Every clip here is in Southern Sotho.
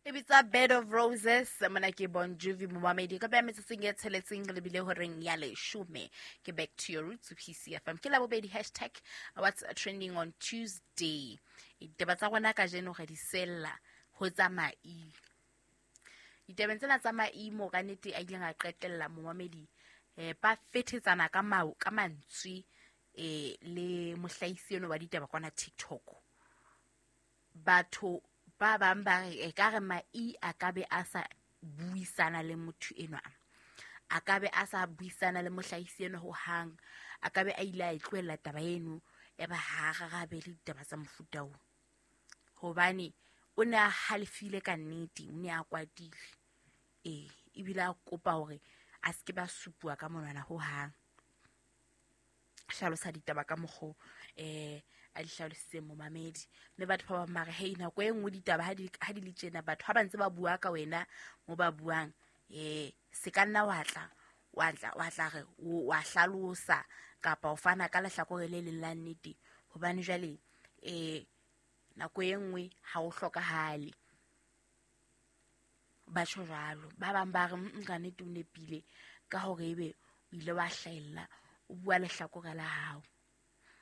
E bitsa Bed of Roses. Mona ke Bon Jovi, momamedi, ka beha metsotsong e tsheletseng re lebile horeng ya leshome. Ke Back to Your Roots, PCFM. Ke Labobedi, hashtag what's trending on Tuesday. Ditaba tsa rona kajeno re di sella ho tsa mai. Ditabeng tsena tsa maimo ka nnete a ileng a qetella, momamedi, ba fethetsana ka mau ka mantswe le mohlahisi eno wa ditaba kwana TikTok. Batho ba bang ba re e ka re mai a ka be a sa buisana le motho enwa, a ka be a sa buisana le mohlahisi enwa ho hang, a ka be a ile a e tlohella taba eno e ba ha rarabele ditaba tsa mofuta oo, hobane o ne a halefile ka nnete, o ne a kwatile, ebile a kopa hore a se ke ba supuwa ka monwana ho hang. Hlalosa ditaba ka mokgo a di hlalositseng, momamedi. Mme batho ba bang ba re, hei, nako e nngwe ditaba ha di le tjena, batho ha ba ntse ba bua ka wena mo ba buang, se ka nna wa tla wa tla re wa hlalosa kapa o fana ka lehlakore le leng la nnete, hobane jwale nako e nngwe ha o hlokahale. Ba tjho jwalo. Ba bang ba re ka nnete o nepile ka hore ebe o ile wa hlahella o bua lehlakore la hao.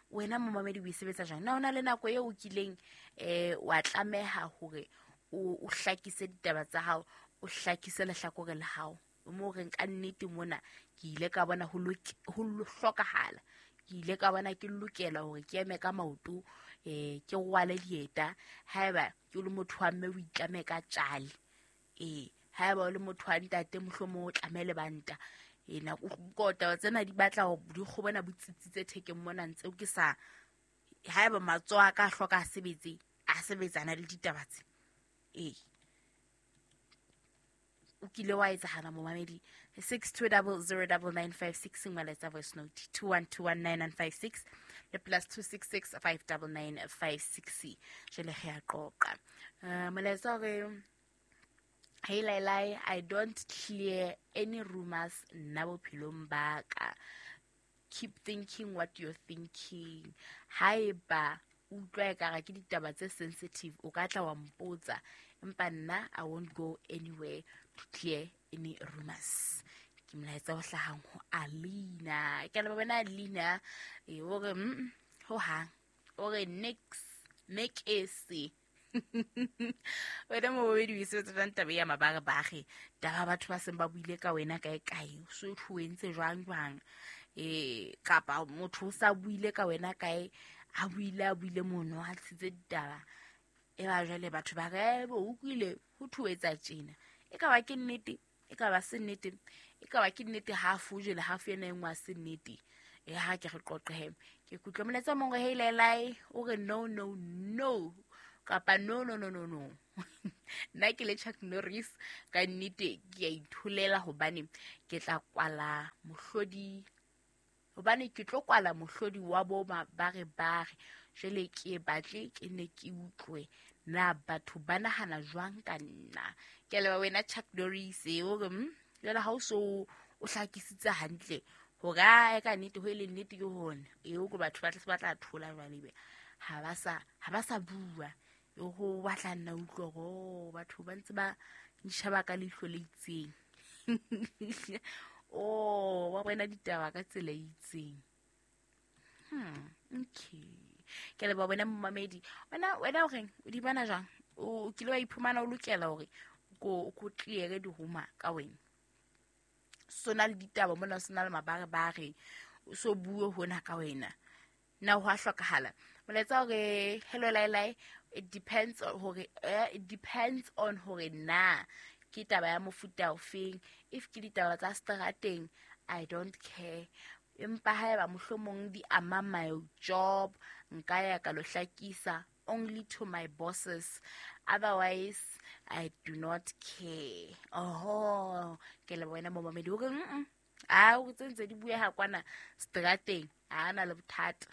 Wena momamedi o e sebetsa jwang? Na o na le nako eo o kileng wa tlameha hore o hlakise ditaba tsa hao, o hlakise lehlakore la hao? Mo reng ka nnete mona ke ile ka bona ho hlokahala, ke ile ka bona ke lokela hore ke eme ka maoto, ke rwale dieta. Haeba ke le motho wa mme o itlame ka tjale, haeba o le motho wa ntate mohlomong o tlame lebanta. Nako taba tsena di batla hore di kgobona bo tsitsitse thekeng mona ntse ke sa, haeba matsoho a ka hloka a sebetse, a sebetsana le ditaba tse. O kile wa etsahala, momamedi? 62009956, molaetsa voice note 21219956 le +266 59956. Jwale re a qoqa. Molaetsa hore, "Hey Lailai, I don't clear any rumors nna bophelong ba ka. Keep thinking what you're thinking. Haeba utlwa ekare ke ditaba tse sensitive, o ka tla wa mpotsa, empa nna I won't go anywhere to clear any rumors." Ke molaetsa o hlahang ho Alina. Ke a leboha wena Alina. O re ho hang, o re nix nekese. Wena momamedi o e sebetsa jwang taba ya mabarebare, taba batho ba seng ba buile ka wena kae kae, o so o entse jwang jwang, kapa motho o sa buile ka wena kae, a buile mono, a tshitse ditaba, e ba jwale batho ba re bo utlwile ho thuetsa tjena, e ka ba ke nnete, e ka ba se nnete, e ka ba ke nnete half jwale half ena e nngwe a se nnete. Ha ke re qoqehe. Ke kutlwa molaetsa o mongwe, "Hey Lailai," o re, "No, no, no," kapa "No, no, no, no, no. Nna ke le Chuck Norris ka nnete ke a itholela, hobane ke tla kwala mohlodi, hobane ke tlo kwala mohlodi wa bo mabarebare. Jwale ke batle ke ne ke utlwe na batho ba nahana jwang ka nna." Ke a leboha wena Chuck Norris. O re jwale ha o so o hlakisitse hantle hore a ka nnete ho e le nnete ke hone eo ke batho ba tla se ba tla thola jwale, ebe ha ba sa bua, e ho batla nna utlwe hore batho ba ntse ba ntjheba ka leihlo le itseng. Oh, ba bona ditaba ka tsela e itseng. Okay, ke leboha wena momamedi. Wena o reng, o di bona jwang? O kile wa iphumana o lokela hore ko clear di-rumour ka wena? Sona le ditaba mona, sona le mabarebare, o so bue hona ka wena, na ho a hlokahala? Molaetsa hore, "Hello Lailai, it depends hore it depends on hore na ke taba ya mofuta ofeng. If ke ditaba tsa strateng, I don't care, empa haeba mohlomong di ama my job, nka ya ka lo hlakisa only to my bosses, otherwise I do not care." Oho, ke le wena momamedi, o re a o tse ntse di bueha kwana strateng, ha na le bothata,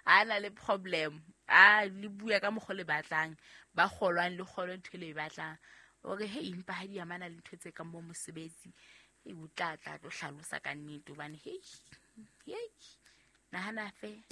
ha na le problem, a le bua ka mokgo le batlang, ba kgolwang le kgolwe ntho e le e batlang. O re hei, empa ha di amana le ntho tse kang bo mosebetsi, e o tla tlo hlalosa ka nnete, hobane hei hei, nahana fe.